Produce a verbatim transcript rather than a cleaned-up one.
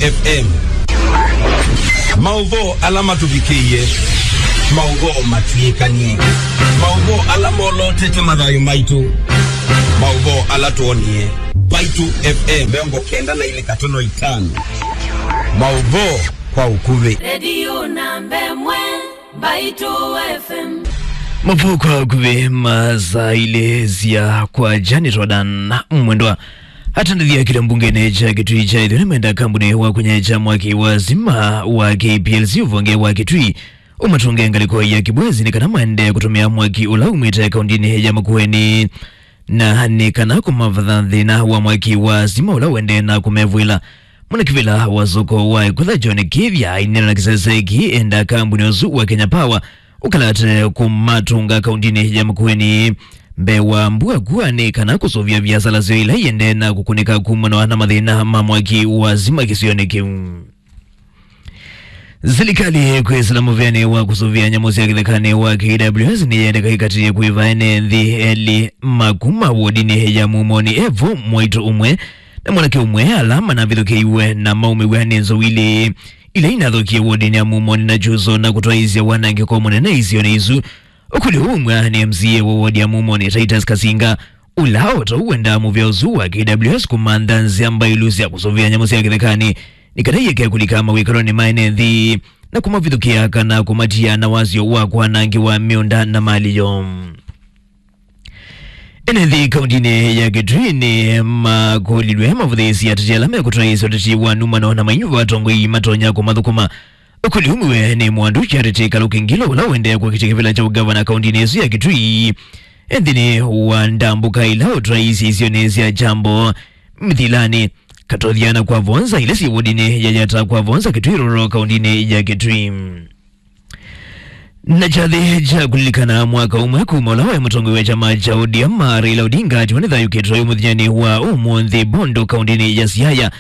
F M. Maũvoo ala matũvikĩie, maũvoo matw'ĩkanie, maũvoo ala molotete mathayũ maitũ, maũvoo ala twonie. Mbaitũ F M mĩongo kenda na ilĩ katono itano. Maũvoo kwa ũkuvĩ. Redio namba ĩmwe, Mbaitũ F M. Maũvoo kwa ũkuvĩ ma saa ilĩ sya kwakya. Nĩ Jordan Mwendwa. Atandĩthya kĩla mbungenĩ kya Kitui kya ĩtheo nĩmenda kambuni wa kũnyaĩĩkya mwaki wa stima wa K P L C ũvonge wa Kitui ũmatũnge ngalĩko ya Kibwezi nĩ kana maendee kũtũmĩa mwaki ũla umĩte kaũndĩnĩ ya Makueni. Na nĩ kana kũmavatha thĩna wa mwaki wa stima ũla ũendee na kũmevw'ĩla. Mwanakĩvĩla wa soko wa Ĩkutha John Kĩthya aineena na kĩsese kĩĩ enda kambuni ũsu wa Kenya Power ũkalate kũmatũnga kaũndĩnĩ ya Makueni mbee wa mbua kua nĩ kana kũsũvĩa viasala syoo ila iendee na kũkũnĩka kumana na mathĩna ma mwaki wa stima kĩsionĩ kĩu. Silikalĩ kwĩsĩla mũvĩanĩ wa kũsũvĩa nyamũ sya kĩthekanĩ wa K W S nĩyendeka ĩkatĩĩe kwĩva ene nthĩ elĩ ma kuma wodinĩ ya Mumoni Evo, mwaitũ ũmwe na mwanake ũmwe, ala manavithũkĩiwe na maumĩw'a nĩ nzou ilĩ ila inathũkie wodinĩ ya Mumoni na Kyuso na kũtwaĩĩsya wanangĩko mũnene isionĩ isu. Ũkũlyo ũũ umw'a nĩ M C A wa wodi ya Mumoni, Titus Kasinga, ũla o ta ũu wendaa mũvĩa ũsu wa K W S kũmantha nzĩa mbailu sya kũsũvĩa nyamũ sya kĩthekanĩ nĩ kana ieke kũlika mawĩkalonĩ ma ene nthĩ na kũmavithũkĩa kana kũmatia na wasyo wa kwanangĩwa mĩũnda na malĩ yoo. Ene nthĩ kaũndĩnĩ ya Kitui nĩ makũlilw'e mavũthĩĩsye ateti ala mekũtwaĩĩsya ũteti wa numano na mainyu va atongoi matonya kũmathũkũma. Ũkũlyo umwĩwe nĩ Mwandu Charity Kaluki Ngilo, ũla ũendee kũakĩtya kĩvĩla kya ũngavana kaũndĩnĩ ĩsu ya Kitui nthĩnĩ wa ndambũka ila ũtwaĩĩsye isionĩ sya Kyambo, Mĩthilanĩ, Katothiana kwa Vonza, ila syĩ wodinĩ ya Yata kwa Vonza, Kitui Rural, kaũndĩnĩ ya Kitui. Na kyathĩ kya kũlilikana mwaka ũmwe kuma ũla waĩ mũtongoi wa kyama kya O D M Raila Odinga atiwa nĩ thayũ kĩtwayo mũthenyanĩ wa ũmũnthĩ Bondo, kaũndĩnĩ ya Siaya,